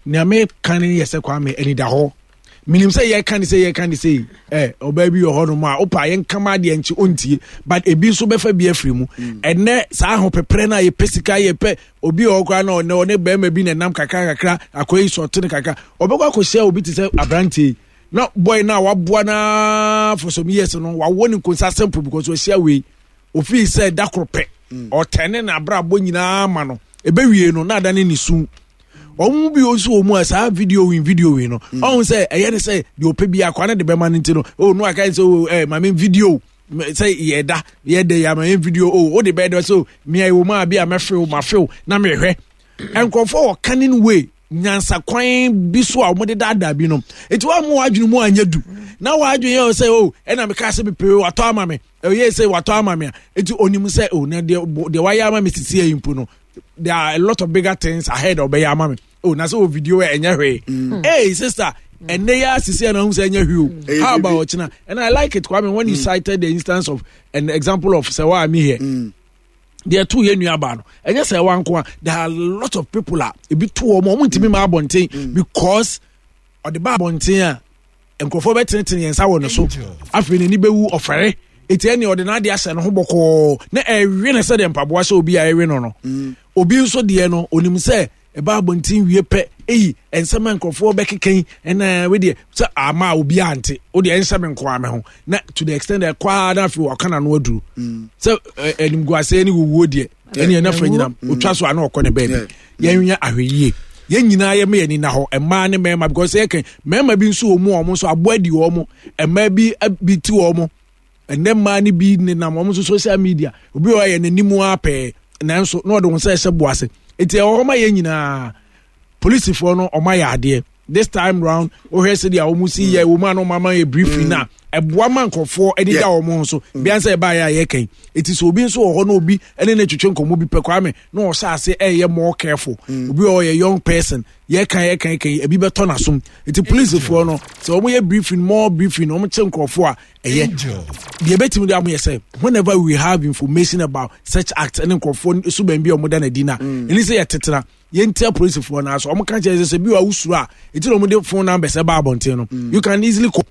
Nea meka ne yɛ sɛ, Kwame, anida hɔ. Menim sɛ yɛka ne sɛ yɛka ne sɛ ɔbaa bi wɔ hɔ nom a wopa yɛnkama adeɛ nkye ɔntie, but ebi nso bɛfa bi afiri mu. Ɛnɛ saa ahopeprɛ no a yɛpɛ sika, yɛpɛ obi wɔ hɔ koraa na ɔne ɔne bɛrima bi na ɛnam kakra kakra, akɔyi sɔte no kakra, ɔbɛkɔ akɔhyia obi te sɛ aberanteɛ yi na boy no a waboa no for some years no, wawɔ ne nkonsa simple because wahyia wei, ofii sɛ da koro pɛ ɔtɛne n'abrabɔ nyinaa ma no, ɛbɛwie no na ada ne ne su. Wɔn mu bi nso wɔ mu a saa video win video win no, ɔhun sɛ ɛyɛ ne sɛ deɛ ɔpɛ bi akwa ne de bɛma no, nti no o no aka sɛ o maame video sɛ yɛda yɛda yɛ ama yɛn video o de bɛyɛ dɛ sɛ mmea wɔ mu a bi a mɛfew mafew na mehwɛ. Nkurɔfoɔ wɔ cunning way, nyansakwan bi so a wɔde daadaa bi nom, eti wɔn a wɔn adwene mu anyɛ du na wɔn adwene yɛ sɛ o ɛna meka sɛ mepere watɔ ama me, ɛyɛ sɛ watɔ ama me a, eti onim sɛ o na deɛ deɛ wayɛ ama me sisi yɛ mpo no, there are a lot of bigger things ahead ɔbɛyɛ ama me o, na sɛ o video yɛ ɛnyɛ hwee. Hey sister, ɛnɛ yɛ asisi ɛna ahun sɛ ɛnyɛ hwee o, how about ɔkyena? And I like it, Kwame, when you cited the instance of an example of sɛ wa mi here. Deɛ to yɛ nua baa no, ɛnyɛ sɛ ɛwa nko a, there are a lot of people a ebi to wɔn, wɔn ntumi ma abɔnten because ɔde ba abɔnten a, nkurɔfoɔ bɛtenetene yɛn nsa wɔ ne so, afei n'ani bɛwu ɔfɛre. Eti ɛne ɔde n'ade ahyɛ ne ho bɔkɔɔ na ɛwe ne sɛdeɛ mpaboa hyɛ obi a ɛwe no. Obi nso deɛ no, onim sɛ ɛba abɔnten wie pɛ, eyi nsɛm a nkurɔfoɔ bɛkeka yi, ɛna wedeɛ sɛ ama a obi ante, wodeɛ ɛnhyɛ me nkoa me ho, na to the extent that ɛkɔ ara na afei ɔka n'ano aduru sɛ animguaseɛ ne wuwuo deɛ, ɛne ɛna fa nyinam otwa so a na ɔkɔ ne baabi. Yɛnyɛ ahwɛyie, yɛn nyinaa yɛ meyɛ nina hɔ, mmaa ne mmarima, because yɛka mmarima bi nso wɔ mu a wɔn nso aboa di wɔn, mmaa bi bi ti wɔn. Ɛnɛ mmaa no bi nenam wɔn nso social media, obi wɔ yɛ n'anim ara pɛɛ, nanso na ɔde wɔn nsa ɛhyɛ bo ase. Eti ɛwɔ hɔ ma yɛn nyinaa. Polisifoɔ no, wɔn ayɛ adeɛ this time round. Wohwɛ sɛdeɛ wɔn si yɛ wɔn a na wɔn ama yɛ briefing na ɛboa ma nkurɔfoɔ ɛde da wɔn ho so bia sɛ ɛbaa yɛ a yɛkɛn. Eti sɛ obi nso wɔ hɔ na obi ɛne ne twetwe nkɔmɔ bi pɛ, Kwame, na ɔhyɛ ase ɛyɛ more careful. Obi wɔ hɔ yɛ young person, yɛka yɛka yɛka ebi bɛtɔ n'asom. Eti polisifoɔ no, sɛ wɔn yɛ briefing, more briefing, wɔn kye nkurɔfoɔ a, ɛyɛ deɛ ebɛtumi de amoyɛ sɛ whenever we have information about such acts ɛne nkurɔfoɔ suban bi a wɔn da n'adi na ɛni sɛ yɛtetena yɛntia polisifoɔ no aso. Wɔn ka kyerɛ sɛ bi wa wusuro a, eti na wɔn de phone numbers ɛba abɔnten no, you can easily call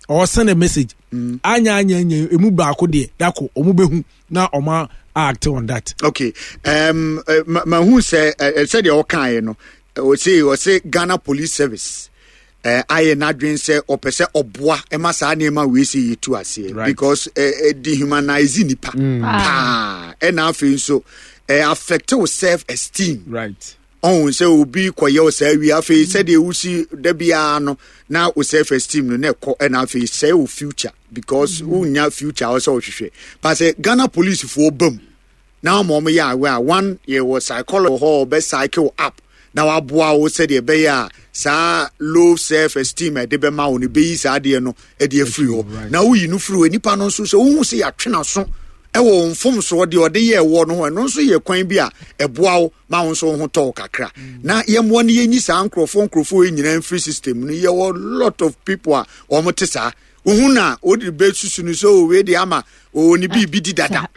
or send a message. Anya anya anya emu baako deɛ dako wɔn bɛhu na wɔn act on that. Okay, mahu sɛ sɛdeɛ ɔkaeɛ no, ɔse Ghana Police Service ayɛ n'adwene sɛ ɔpɛ sɛ ɔboa ɛma saa nneɛma wei sɛ yɛtu aseɛ because dehumanize nipa paa, ɛna afei nso affect wo self esteem. Ɔhu sɛ obi kɔyɛ wo saa wie, afei sɛdeɛ wosi da biara no na wo self esteem no na ɛkɔ, ɛna afei sɛe wo future because wonya future a wɔsɛ wohwehwɛ pa sɛ Ghana policefoɔ ba mu na wɔn wɔn yɛ awɛ a one yɛwɔ psychology wɔ hɔ, ɔbɛ cycle up na waboa wo sɛdeɛ ɛbɛyɛ a saa low self esteem a ɛde bɛma wo no bɛyi saa adeɛ no ɛde afiri hɔ. Na woyi no firi hɔ, nipa no nso sɛ wohu sɛ yɛatwe n'aso ɛwɔ wo mfomsoɔ deɛ ɔde yɛ ɛwɔ no ho, ɛno nso yɛ kwan bi a ɛboa wo ma wo nso wo ho tɔ wo kakra. Na yɛmmoa no yɛnyi saa nkurɔfoɔ yi nyinaa mfiri system no. Yɛwɔ lot of people a wɔn te saa, wohu na wode bɛsusu no sɛ o wei de ama ɔwɔ ne biribi di dada,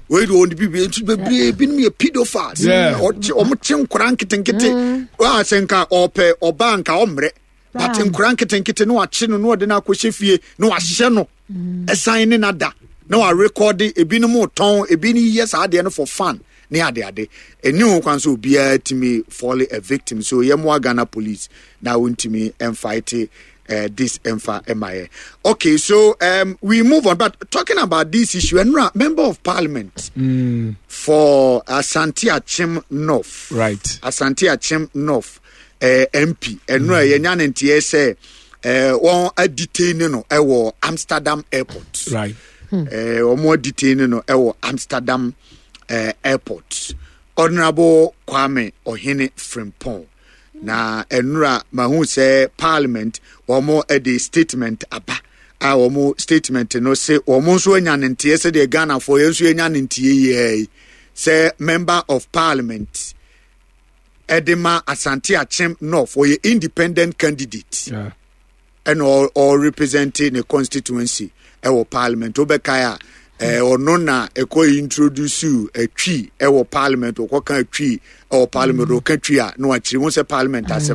wei de ɔwɔ ne biribi nti bebree binom yɛ pedophiles. Ɔmo kye nkora nketenkete a sɛ nka ɔpɛ ɔbaa nka ɔmmerɛ, but nkora nketenkete na wakye no na ɔde no akɔhyɛ fie na wahyɛ no ɛsan ne nada na warekɔde. Ebinom tɔn, ebi yɛ saa adeɛ no for fun ne adeade. Ɛni ho kwan sɛ obiara tumi fall a victim, so yɛmmoa Ghana Police na wɔntumi mfight this ɛmfa ɛma yɛ. Okay, so we move on, but talking about this issue, ɛnura member of parliament for Asante Akyem North, Asante Akyem North MP, ɛnura yɛnya ne nteɛ sɛ wɔn adetain no ɛwɔ Amsterdam airport. Wɔn adetain no ɛwɔ Amsterdam airport, Honourable Kwame Ɔhene Frimpong. Na ɛnura mahu sɛ parliament wɔn de statement aba a wɔn statement no se wɔn nso anya ne nteɛ sɛdeɛ Ghanafoɔ yɛn nso yɛnya ne nteɛ yie yi sɛ member of parliament ɛde ma Asante Akyem North, ɔyɛ independent candidate ɛna ɔrepresent ne constituency ɛwɔ parliament. Wobɛkae a, ɔno na ɛkɔ introduce atwi ɛwɔ parliament, ɔkɔka atwi ɛwɔ parliament. Ɔka twi a na wakyerɛ mu sɛ parliament asɛm.